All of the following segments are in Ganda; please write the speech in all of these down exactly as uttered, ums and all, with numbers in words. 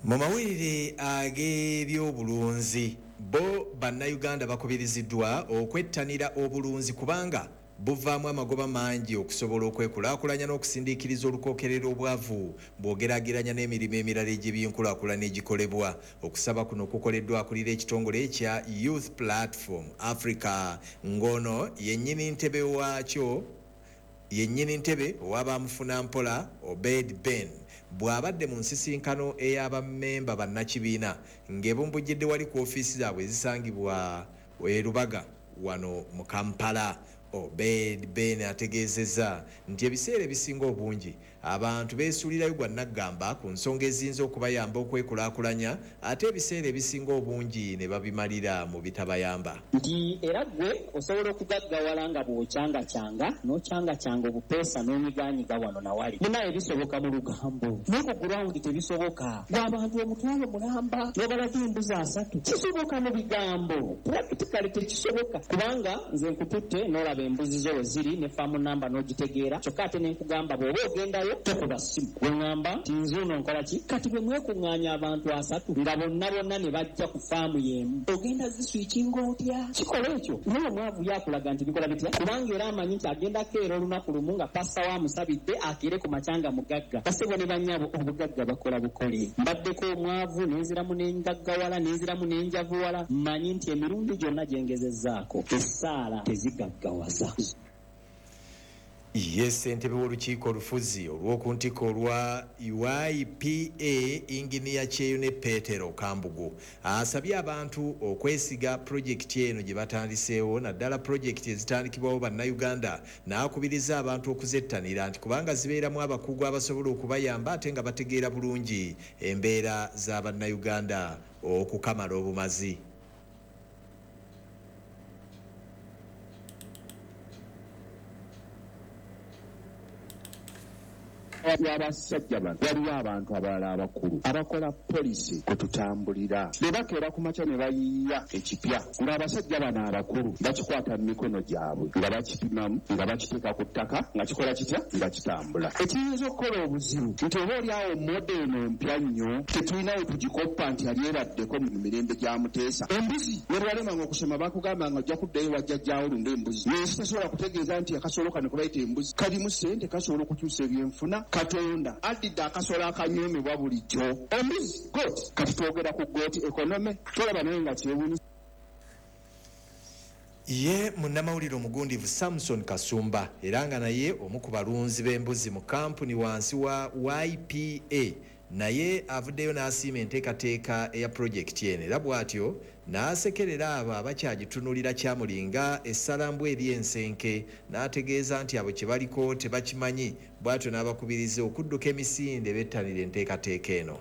Mu mawulire ag'ebyobulunzi, bo bannayuganda bakubiriziddwa okwettanira obulunzi kubanga buvaamu amagoba mangi okusobola okwekulaakulanya n'okusindiikiriza olukookerera obwavu bw'ogeraageranya n'emirimu emirala egy'ebyenkulaakulana egikolebwa. Okusaba kuno kukoleddwa akulira ekitongole ekya Youth Platform Africa, ng'ono yennyini ntebe waakyo, yennyini ntebe ow'abamufunampola Obed Ben, bw'abadde mu nsisinkano ey'abammemba bannakibiina ng'ebumbujjidde wali ku ofiisi zaabwe ezisangibwa e Lubaga wano mu Kampala. Obed Ben ategeezezza nti ebiseera ebisinga obungi abantu beesuulirayo gwa nnaggamba ku nsonga eziyinza okubayamba okwekulaakulanya, ate ebiseera ebisinga obungi ne babimalira mu bitabayamba. Nti era ggwe osobola okugaggawala nga bw'ocangacanga, n'ocangacyanga obupeesa n'onyigaanyiga wano na wali. Munaaye bisoboka mu lugambo naye ku ground tebisoboka. Ggwe abantu omutwalo mulamba n'obalaga embuzi asatu. Kisoboka mu bigambo, practically tekisoboka kubanga nze nkututte n'olaba embuzi zo we ziri ne farm number n'ogitegeera, kyokka ate ne nkugamba bw'oba ogendayo tokuba ssimu. Gwe ŋŋamba nti nzuuno nkola ki? Kati bwe mwekuŋŋaanya abantu asatu nga bonna bonna ne bajja ku faamu y'emu, ogenda ziswikinga otya? Kikola ekyo. Naye omwavu ye akulaga nti bikola bitya? Kubanga era amanyi nti agenda keera olunaku lumu nga pasita we amusabidde akeere ku makya nga mugagga. Bassebo ne bannyabo, obugagga bakola bukole. Mbaddeko omwavu ne nziramu ne ngaggawala, ne nziramu ne njavuwala. Mmanyi nti emirundi gyonna gye ngezezzaako essaala tezigaggawaza. Ye ssentebe w'olukiiko olufuzi olw'oku ntikko olwa Y P A, Inginiya Kyeyune Petero Kambugu, asabye abantu okwesiga pulojekiti eno gye batandiseewo, naddala pulojekiti ezitandikibwawo bannayuganda, n'akubiriza abantu okuzettanira nti kubanga zibeeramu abakugu abasobola okubayamba ate nga bategeera bulungi embeera za bannayuganda okukamala obumazi. Abasajja bano waliwo abantu abalala abakulu abakola polisi kwe tutambulira. Bwe bakeera ku makya ne bayiiya ekipya, ng'abasajja bano abakulu bakikwata mu mikono gyabwe nga bakipimamu, nga bakiteeka ku ttaka, nga kikola kitya, nga kitambula. Ekiyinza okukola obuzibu nti oba oli awo moda eno mpya nnyo, tetulina we tugikoppa nti yali ebaddeko mu mirembe gya Muteesa. Embuzi ne bwe walemanga okusoma bakugamba nga ojja kuddayo wajjajjaawo olunde embuzi. Naye tasobola kutegeeza nti akasolo kano ke bayita embuzi kalimu ssente, kasobola okukyusa ebyenfuna. Katonda addidde akasolo akanyoomebwa bulijjo. Embuzi goat, kati twogera ku goat economy, tolaba naye nga kyewuunyisa. Ye munnamawulire omugundivu Samson Kasumba, era nga naye omu ku balunzi b'embuzi mu kampuni wansi wa Y P A, naye avuddeyo n'asiima enteekateeka eya pulojekiti eno, era bw'atyo n'asekerera abo abakyagitunulira kyamulinga essalambwa eri ensenke, n'ategeeza nti abo kye baliko tebakimanyi, bw'atyo n'abakubiriza okudduka emisinde bettanira enteekateeka eno.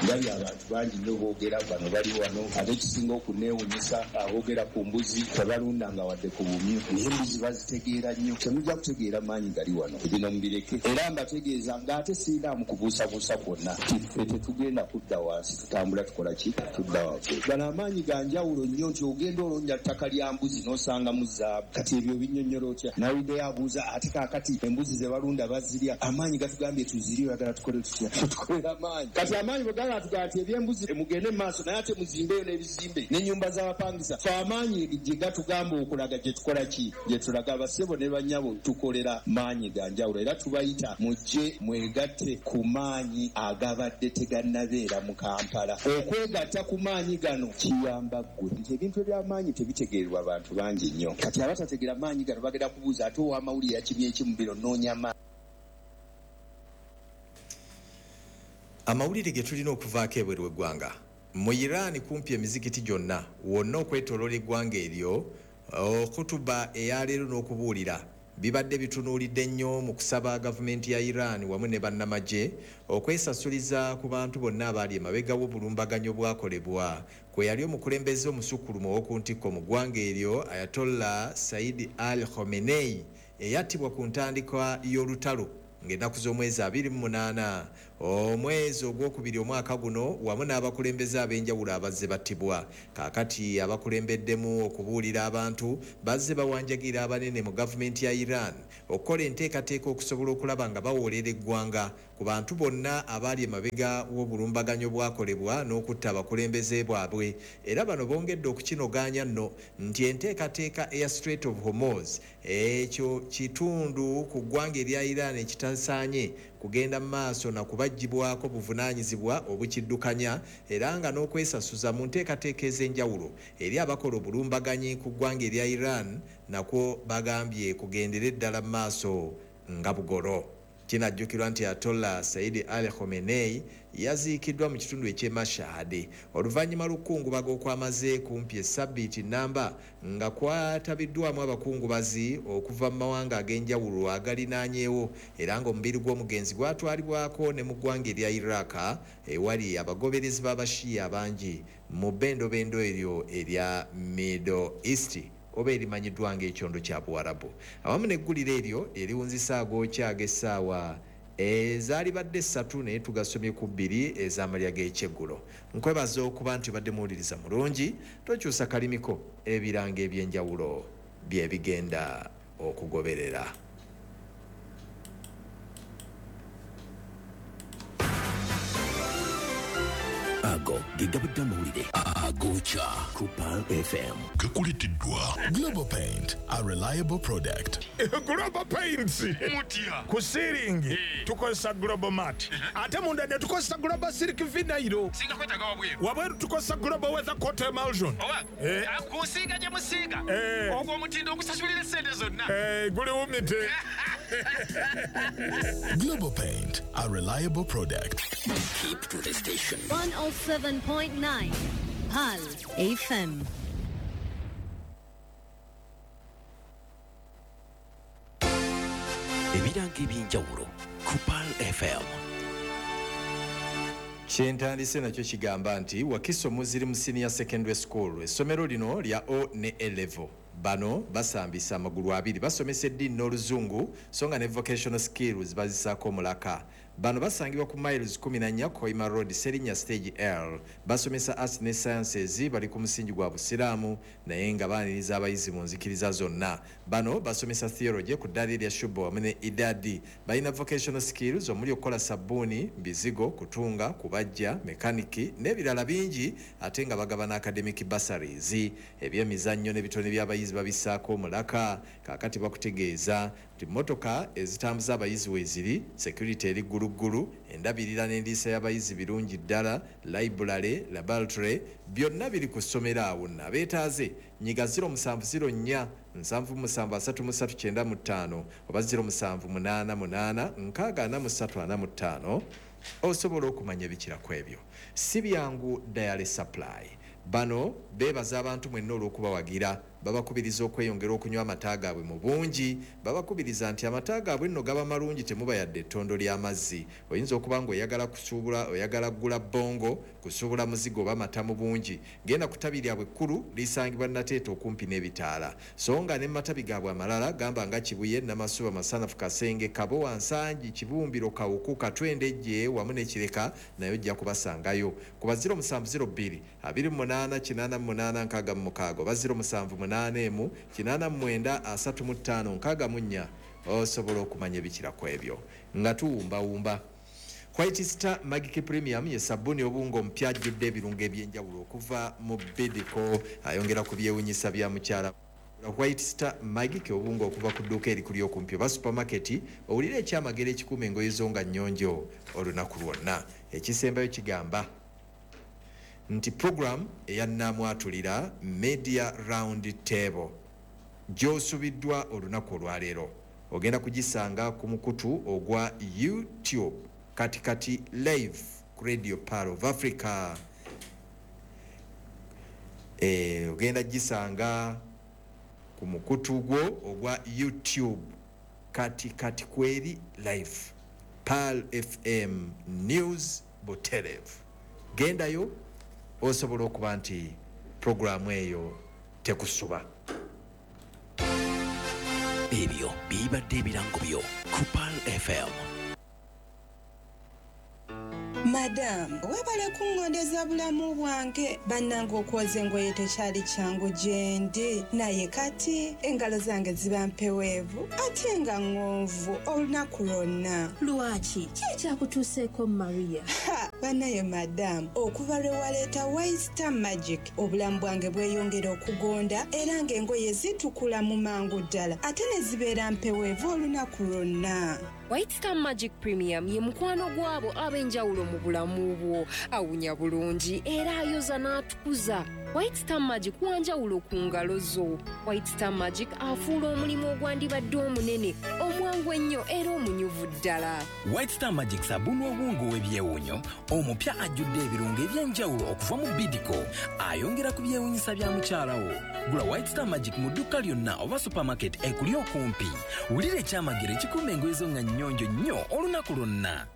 Ndabye abantu bangi nnyo boogera, bano bali wano, ate ekisinga okunneewuunyisa aboogera ku mbuzi tebalundanga wadde ku bumyu, naye embuzi bazitegeera nnyo. Temujja kutegeera maanyi gali wano, bino mubireke. Era mbategeeza ng'ate sirinaamu kubuusabuusa kwonna nti ffe tetugenda kudda wansi, tutambula tukola ki? Tudda waggulu. Gano amaanyi ga njawulo nnyo nti ogenda olonda ttaka lya mbuzi n'osangamu zaabu. Kati ebyo binnyonnyola otya? Nawuliddeyo abuuza ate kaakati embuzi ze balunda bazirya, amaanyi gatugambye tuzirye, oyagala tukole tutya? Tukolera amaanyi. Kati amaanyi bwe gaba atugaa nti ebyembuzi mugende mu maaso, naye ate muzimbeeyo n'ebizimbe n'ennyumba z'abapangisa. Ffe amaanyi gye gatugamba okulaga gye tukola ki? Gye tulaga. Abassebo ne bannyabo tukolera maanyi ga njawulo, era tubayita mujje mwegatte ku maanyi agabadde tegannabeera mu Kampala. Okwegatta ku maanyi gano kiyamba ggwe nti ebintu eby'amaanyi tebitegeererwa bantu bangi nnyo. Kati abatategeera maanyi gano bagenda kubuuza ate ow'amawulire yakimye ki mu biro, nnoonya maanyi. Amawulire ge tulina okuvaako ebweru w'eggwanga. Mu Iran kumpi emizikiti gyonna wonna okwetooloola eggwanga eryo, khutuba eyaleero n'okubuulira bibadde bitunuulidde nnyo mu kusaba gavumenti ya Iran wamu ne bannamagye okwesasuliza ku bantu bonna abaali emabega w'obulumbaganyi obwakolebwa kwe yali omukulembeze omusukkulumu ow'oku ntikko mu ggwanga eryo Ayatollah Said Ali Khamenei, eyattibwa ku ntandikwa y'olutalo ng'ennaku z'omwezi abiri mu munaana Omwezi ogwokubiri omwaka guno wamu n'abakulembeze ab'enjawulo abazze battibwa. Kaakati abakulembeddemu okubuulira abantu bazze bawanjagira abanene mu gavumenti ya Iran okukola enteekateeka okusobola okulaba nga bawoolera eggwanga ku bantu bonna abaali emabega w'obulumbaganyo bwakolebwa n'okutta abakulembeze bwabwe. Era bano bongedde okukinogaanya nno nti enteekateeka eya Strait of Hormuz, ekyo kitundu ku ggwanga erya Iran ekitasaanye kugenda mu maaso na kubaggyibwako buvunaanyizibwa obukiddukanya, era nga n'okwesasuza mu nteekateeka ez'enjawulo eri abakola obulumbaganyi ku ggwanga erya Iran nakwo bagambye kugendere ddala mu maaso nga bugolo. Kinajjukirwa nti Ayatollah Said Ali Khamenei yaziikiddwa mu kitundu eky'e Mashhad oluvannyuma lw'okukungubaga okwamaze kumpi essabbiiti nnamba nga kwatabiddwamu abakungubazi okuva mu mawanga ag'enjawulo agalinaanyeewo, era ng'omubiri gw'omugenzi gwatwalibwako ne mu ggwanga erya Iraq ewali abagoberezi b'Abashiya abangi mu bbendobendo eryo erya Middle East oba erimanyiddwa ng'ekyondo kya Buwarabu. Awamu n'eggulire eryo eriwunzisa agookya ag'essaawa ezaalibadde ssatu naye tugasomye ku bbiri ez'amalya g'ekyeggulo. Nkwebaza okuba nti obadde muwuliriza mulungi, tokyusa kalimiko, ebirango eby'enjawulo bye bigenda okugoberera. Ago ge gabadde amawulire agokya ku Pearl F M. Gakuleteddwa Global Paint, a reliable product. Global Paints mutya ku siiringi tukozesa Global Mat, ate munda ne tukozesa Global Silk Vinyl. Singa kwetaaga wabweru, wabweru tukozesa Global Weather Coat Emulsion. Oba kusiiga gye musiiga ogwo omutindo ogusasulira essente zonna guliwumite. Global Paint, a reliable product. Keep to the station. one oh seven point nine Pearl F M. Ebirango eby'enjawulo ku Pearl F M. Kyentandise nakyo kigamba nti Wakiso Muslim Senior Secondary School, essomero lino lya O ne A level. Bano basambisa amagulu abiri, basomesa eddiini n'oluzungu so nga ne vocational skills bazisaako omulaka. Bano basangibwa ku miles kumi na nnya Koima Road, Serinya Stage L. Basomesa arts ne sciences, bali ku musingi gwa Busiraamu naye nga baaniriza abayizi mu nzikiriza zonna. Bano basomesa theology ku ddaala erya Shubo wamu ne Idadi. Balina vocational skills omuli okukola sabbuuni, bizigo, kutunga, kubajja, mekaniki n'ebirala bingi, ate nga bagabana academic bursaries. Ebyemizannyo n'ebitone by'abayizi babisaako omulaka. Kaakati bakutegeeza nti mmotoka ezitambuza abayizi weeziri, security eri gguluggulu, endabirira n'endiisa y'abayizi birungi ddala, library, laboratory byonna biri ku ssomero awo. Nno abeetaaze nyiga ziro musanvu ziro nnya nsanvu musanvu asatu mu ssatu kyenda mu ttaano oba ziro musanvu munaana munaana nkaaga ana mu ssatu ana mu ttaano osobola okumanya ebikira ku ebyo. Si byangu Diary Supply. Bano beebaza abantu mwenna olw'okubawagira, babakubiriza okweyongera okunywa amata gaabwe mu bungi, babakubiriza nti amata gaabwe nno gaba malungi, temuba yadde ettondo ly'amazzi. Oyinza okuba ng'oyagala kusuubula, oyagala kugula bbongo, kusuubula muzigo oba mata mu bungi. Genda ku ttabi lyabwe ekkulu lisangibwa Nateete okumpi n'ebitaala. So nga ne mu matabi gaabwe amalala gamba nga Kibuye, Namasuba, Masanafu, Kasenge, Kabowa, Nsangi, Kibumbiro, Kawuku, Katwendejje wamu ne Kireka, naye ojja kubasangayo. Ku ba ziro musanvu ziro bbiri abiri mu munaana kinaana mu munaana nkaaga mu mukaaga oba ziro musanvu munaana emu kinaana mu mwenda asatu mu ttaano nkaaga mu nnya osobola okumanya ebikira ku ebyo. Nga tuwumbawumba White Star Magic Premium ye sabbuuni obungo omupya ajjudde ebirungo eby'enjawulo okuva mu Bidco, ayongera ku byewunyisa bya mukyala. White Star Magic obungo okuva ku dduuka erikuli okumpi oba supermarket, owulire ekyamagero ekikuuma engoye zo nga nnyonjo olunaku lwonna. Ekisembayo kigamba nti program eya Nnaamwatulira Media Round Table gy'osubiddwa olunaku olwaleero ogenda kugisanga ku mukutu ogwa YouTube Katikati Live ku Radio Pearl of Africa. E, ogenda gisanga ku mukutu gwo ogwa YouTube Katikati Kweri Live Pearl F M News Buterevu. Gendayo osobola okuba nti programu eyo tekusuba. Ebyo bibadde ebirango byo ku Pearl F M. Madamu, webale kuŋŋondeza bulamu bwange. Bannange, okwoza engoye tekyali kyangu gye ndi, naye kati engalo zange ziba mpeweevu ate nga ŋŋonvu olunaku lwonna. Lwaki? Ki ekyakutuuseeko, Maria? Ha, bannaye madamu, okuva lwe waleeta White Star Magic, obulamu bwange bweyongera okugonda era ng'engoye zitukula mu mangu ddala ate ne zibeera mpeweevu olunaku lwonna. White Star Magic Premium ye mukwano gw'abo ab'enjawulo mu bulamu bwo. Awunya bulungi era ayoza n'atukuza. White Star Magic wanjawulo ku ngalo zo. White Star Magic afuula omulimu ogwandibadde omunene omwangu ennyo era omunyuvu ddala. White Star Magic sabuni owungu w'ebyewuunyo omupya ajjudde ebirungo eby'enjawulo okuva mu Bidco, ayongera ku byewuunyisa bya mukyala wo. Gula White Star Magic mu dduuka lyonna oba supermarket ekuli okumpi. Wulira ekyamagero ekikuuma engoye zo nga nnyonjo nnyo olunaku lwonna.